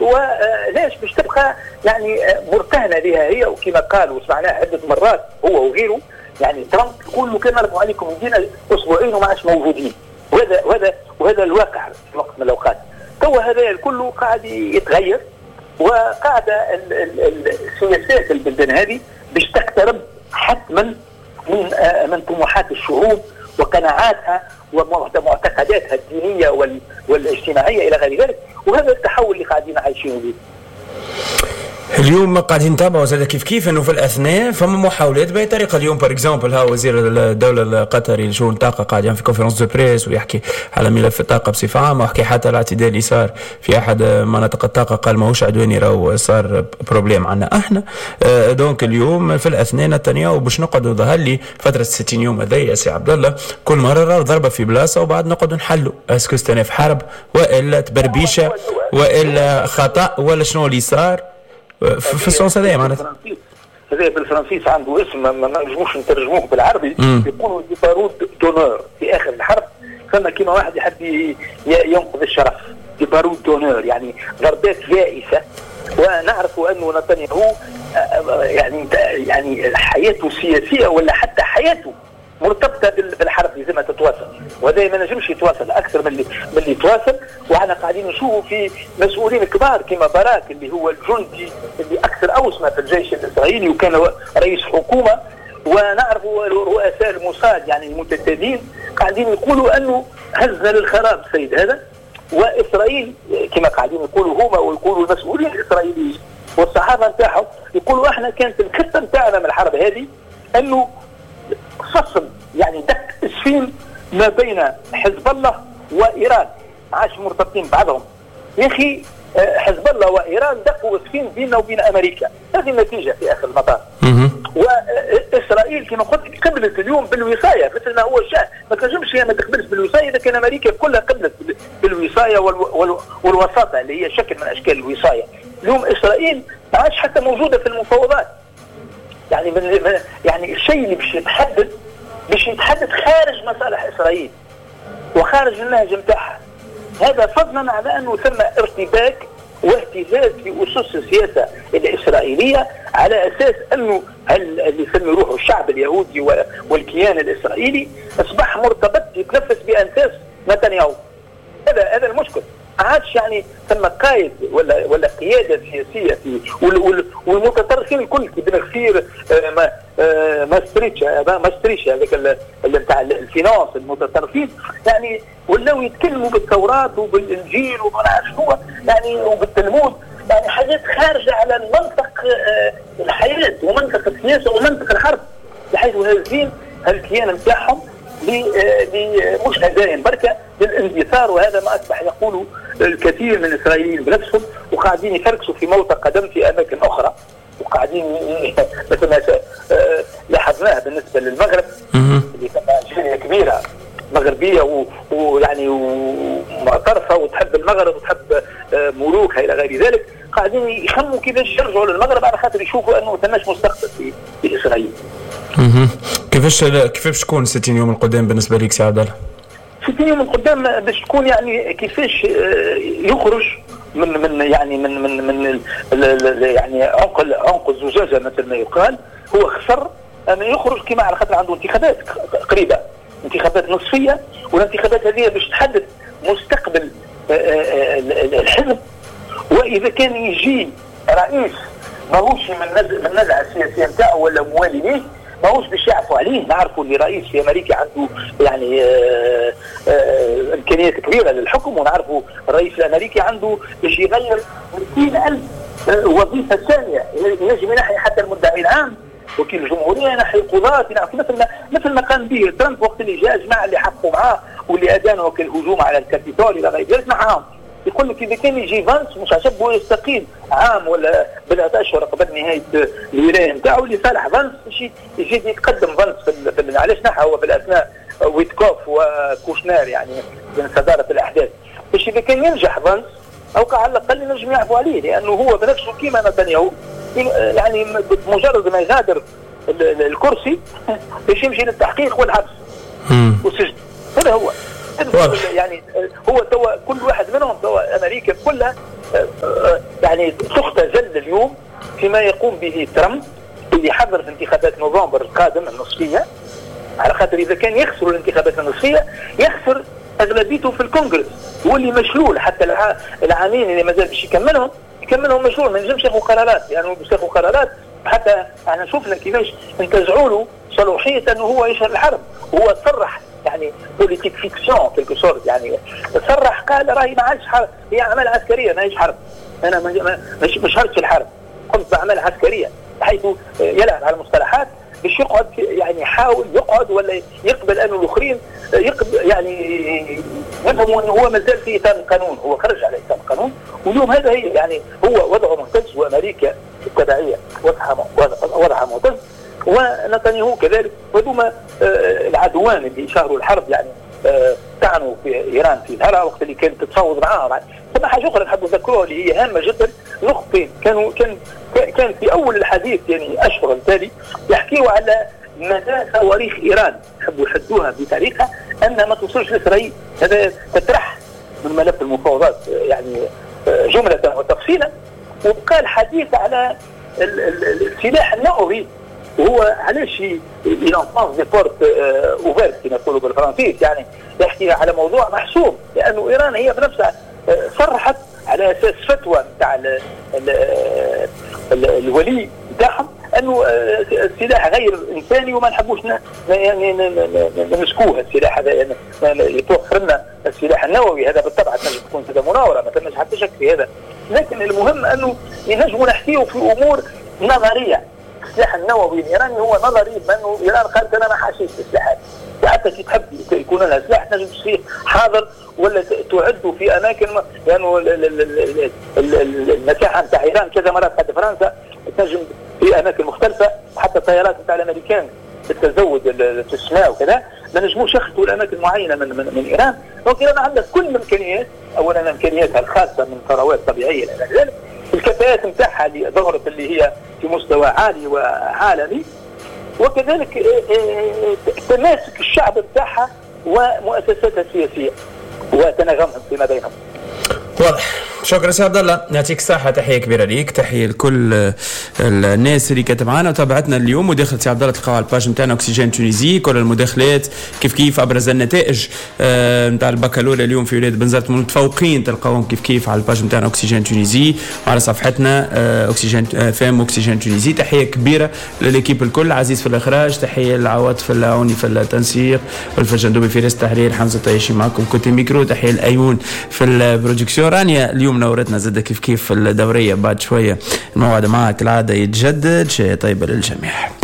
ولاش باش تبقى يعني مرتهنه لها هي. وكما قال وسمعناه عده مرات هو وغيره، يعني ترامب يقول له كان نرفعوا عليكم يدينا اسبوعين وما عادش موجودين، وهذا الواقع في وقت من الاوقات. تو هذا الكل قاعد يتغير، وقاعدة السياسات البلدان هذه باش تقترب حتما من طموحات الشعوب وقناعاتها ومعتقداتها الدينية والاجتماعية الى غير ذلك، وهذا التحول اللي قاعدين عايشينه به. اليوم قاعدين نتابعوا زاد كيف كيف انه في الاثناء فما محاولات باي طريقه. اليوم par exemple ها وزير الدولة القطري لشؤون الطاقة قاعد يعمل في conférence de presse ويحكي على ملف الطاقة بصفة عامة، وحكي حتى الاعتداء اللي صار في احد مناطق الطاقة، قال ماهوش عدواني، راهو صار problème عندنا احنا. donc اليوم في الاثناء نتنياهو باش نقعدوا ظهر لي فترة 60 يوم هذيا يا سي عبد الله، كل مرة راهو ضربه في بلاصة وبعد نقعدوا نحلوا est-ce que استئناف حرب والا تبربيشه والا خطا ولا شنو اللي صار في ال sens هذايا. معناتها هذا بالفرنسيس عنده اسم ما نجموش نترجموه بالعربي، يقولوا des barouds d'honneur. في اخر الحرب فما كيما واحد يحب ينقذ الشرف، des barouds d'honneur، يعني ضربات يائسه. ونعرف انه نتنياهو يعني حياته السياسية ولا حتى حياته مرتبطة بالحرب، لازمها تتواصل، وهذا ما نجمش يتواصل اكثر من اللي يتواصل. وحنا قاعدين نشوفوا في مسؤولين كبار كما باراك اللي هو الجندي اللي اكثر اوسمه في الجيش الاسرائيلي وكان رئيس حكومة، ونعرفوا رؤساء الموساد يعني المتتالين قاعدين يقولوا انه هزنا للخراب السيد هذا. واسرائيل كما قاعدين يقولوا هما ويقولوا المسؤولين الاسرائيليين والصحافة نتاعهم، يقولوا احنا كانت الخطة نتاعنا من الحرب هذه انه فصل، يعني دك اسفين ما بين حزب الله وايران، ما عادش مرتبطين بعضهم. يا اخي حزب الله وايران دقوا اسفين بيننا وبين امريكا، هذه النتيجة في اخر المطاف. واسرائيل كما قلت قبلت اليوم بالوصايه مثل ما هو الشأن، ما تنجمش هي ما تقبلش بالوصايه اذا كان امريكا كلها قبلت بالوصايه والوساطه اللي هي شكل من اشكال الوصايه. اليوم اسرائيل ما عادش حتى موجودة في المفاوضات، يعني يعني الشيء اللي باش يتحدد خارج مصالح اسرائيل وخارج النهج نتاعها. هذا فضلا على انه ثم ارتباك واهتزاز في اسس السياسة الاسرائيلية على اساس انه اللي يسمي روحه الشعب اليهودي والكيان الاسرائيلي اصبح مرتبط يتنفس بانفاس نتنياهو. هذا المشكل. عادش يعني ثم قائد ولا قيادة سياسية في والمتطرفين الكل كي بن غفير ماستريتش هذاك اللي نتاع ال finance، المتطرفين يعني ولاو يتكلموا بالتوراة وبالانجيل وما نعرف شنو يعني وبالتلمود، يعني حاجات خارجه على المنطق الحياة ومنطق السياسة ومنطق الحرب، بحيث هازين هالكيان نتاعهم مش هزايم بركة للاندثار. وهذا ما اصبح يقوله الكثير من الاسرائيليين بنفسهم، وقاعدين يفركسوا في موطئ قدم في اماكن اخرى، وقاعدين مثل ما لاحظناه بالنسبة للمغرب اللي ثم جالية كبيرة مغربية ويعني ومعترفه وتحب المغرب وتحب ملوكها الى غير ذلك، قاعدين يخموا كيفاش يرجعوا للمغرب على خاطر يشوفوا انه ثماش مستقبل في اسرائيل. كيفاش تكون 60 يوم القدام بالنسبة لك سي عبد الله؟ 60 يوم القدام باش تكون يعني كيفاش يخرج من يعني من من من يعني عنق الزجاجة مثل ما يقال. هو خسر ان يخرج كما على خاطر عنده انتخابات قريبه، انتخابات نصفيه، والانتخابات هذه باش تحدد مستقبل الحزب. واذا كان يجي رئيس ماهوش من النزعة السياسية نتاعو ولا موالي ليه، ماهوش باش يعفوا عليه. نعرفوا اللي رئيس في امريكا عنده يعني امكانيات كبيرة للحكم، ونعرفوا الرئيس الامريكي عنده باش يغير 200,000 وظيفة ثانية، ينجم ينحي حتى المدعي العام، وكيل الجمهورية، ينحي القضاة، ينحي مثل ما قام به ترامب وقت اللي جاء جماعة اللي حقوا معاه واللي ادانوا الهجوم على الكابيتول الى غير ذلك معاهم. يقول لك اذا كان يجي فانس مش عجبه يستقيل عام ولا بضعة اشهر قبل نهاية الولاية نتاعو لصالح فانس باش يجي يتقدم فانس في علاش نحى هو في الاثناء ويتكوف وكوشنار يعني من صدارة الاحداث، باش اذا كان ينجح فانس او على الاقل ينجم يعفو عليه، لانه هو بنفسه كيما نتنياهو يعني بمجرد ما يغادر الكرسي باش يمشي للتحقيق والحبس والسجن. هذا هو يعني هو توا كل واحد منهم توا امريكا كلها يعني تختزل اليوم فيما يقوم به ترامب اللي حضر في انتخابات نوفمبر القادم النصفيه، على خاطر اذا كان يخسر الانتخابات النصفيه يخسر اغلبيته في الكونغرس، واللي مشلول حتى العامين اللي مازال باش يكملهم مشلول، ما ينجمش ياخذ قرارات، لانه باش ياخذ قرارات حتى احنا شفنا كيفاش انتزعوا له صلاحية انه هو يشهر الحرب. هو صرح يعني politique fiction quelque sorte، يعني صرح قال راهي ما عادش حرب، هي اعمال عسكرية ماهيش حرب، انا مش شهرتش الحرب، قمت باعمال عسكرية، بحيث يلعب على المصطلحات باش يقعد، يعني يحاول يقعد ولا يقبل انه الاخرين يقبل، يعني يفهموا انه هو مازال في اطار القانون، هو خرج على اطار القانون. واليوم هذا هي يعني هو وضعه مهتز، وامريكا التبعية وضعها مهتز، ونتنياهو كذلك، وهذوما العدوان اللي شهروا الحرب، يعني طعنوا في ايران في ظهرها وقت اللي كانت تتفاوض معاهم. ثم حاجة اخرى نحب نذكروها اللي هي هامة جدا، نقطتين كان في اول الحديث يعني اشهر التالي يحكيوا على مدى صواريخ ايران، يحبوا يحدوها بطريقة انها ما توصلش لاسرائيل. هذا تطرح من ملف المفاوضات يعني جملة وتفصيلا. وبقى الحديث على السلاح النووي، وهو علاش il enfonce des portes ouvertes كما يقولوا بالفرنسيس، يعني يحكي على موضوع محسوم، لانه ايران هي بنفسها صرحت على اساس فتوى نتاع الولي نتاعهم انه السلاح غير انساني وما نحبوش يعني نمسكوه السلاح هذا، يعني يتوفر لنا السلاح النووي. هذا بالطبع تنجم تكون هذا مناوره، ما ثماش حتى شك في هذا، لكن المهم انه نجموا نحكيه في امور نظرية. السلاح النووي الايراني هو نظري، بانه ايران قالت انا ما حاشيش السلاحات، وحتى كي تحب يكون لها سلاح تنجم تصير حاضر ولا تعد في اماكن، لانه المساحة نتاع ايران كذا مرات قد فرنسا، تنجم في اماكن مختلفة، حتى الطيارات نتاع الامريكان التزود في السماء وكذا ما نجموش يخطوا الاماكن معينة من ايران. donc ايران عندها كل الامكانيات، اولا امكانياتها الخاصة من ثروات طبيعية الى غير ذلك، الكفاءات نتاعها اللي ظهرت اللي هي في مستوى عالي وعالمي، وكذلك تماسك الشعب نتاعها ومؤسساتها السياسية وتناغمهم فيما بينهم. واضح. شكرا سي عبد الله، يعطيك الصحة، تحية كبيرة ليك، تحية لكل الناس اللي كانت معنا وتابعتنا اليوم. وداخل سي عبد الله تلقاو على ال page نتاعنا Oxygène Tunisie كل المداخلات كيف كيف، ابرز النتائج نتاع البكالوريا اليوم في ولاية بنزرت المتفوقين تلقاوهم كيف كيف على ال page نتاعنا Oxygène Tunisie وعلى صفحتنا Oxygène FM Oxygène Tunisie. تحية كبيرة لل équipe الكل، عزيز في الاخراج، تحية لعواطف العوني في التنسيق، والفجندوبي في رئاسة التحرير، حمزة طيشي معكم côté micro، تحية الايون في ال production، رانيا اليوم نورتنا زادة كيف كيف في الدورية. بعد شوية الموعد معك العادة يتجدد. شيء طيبة للجميع.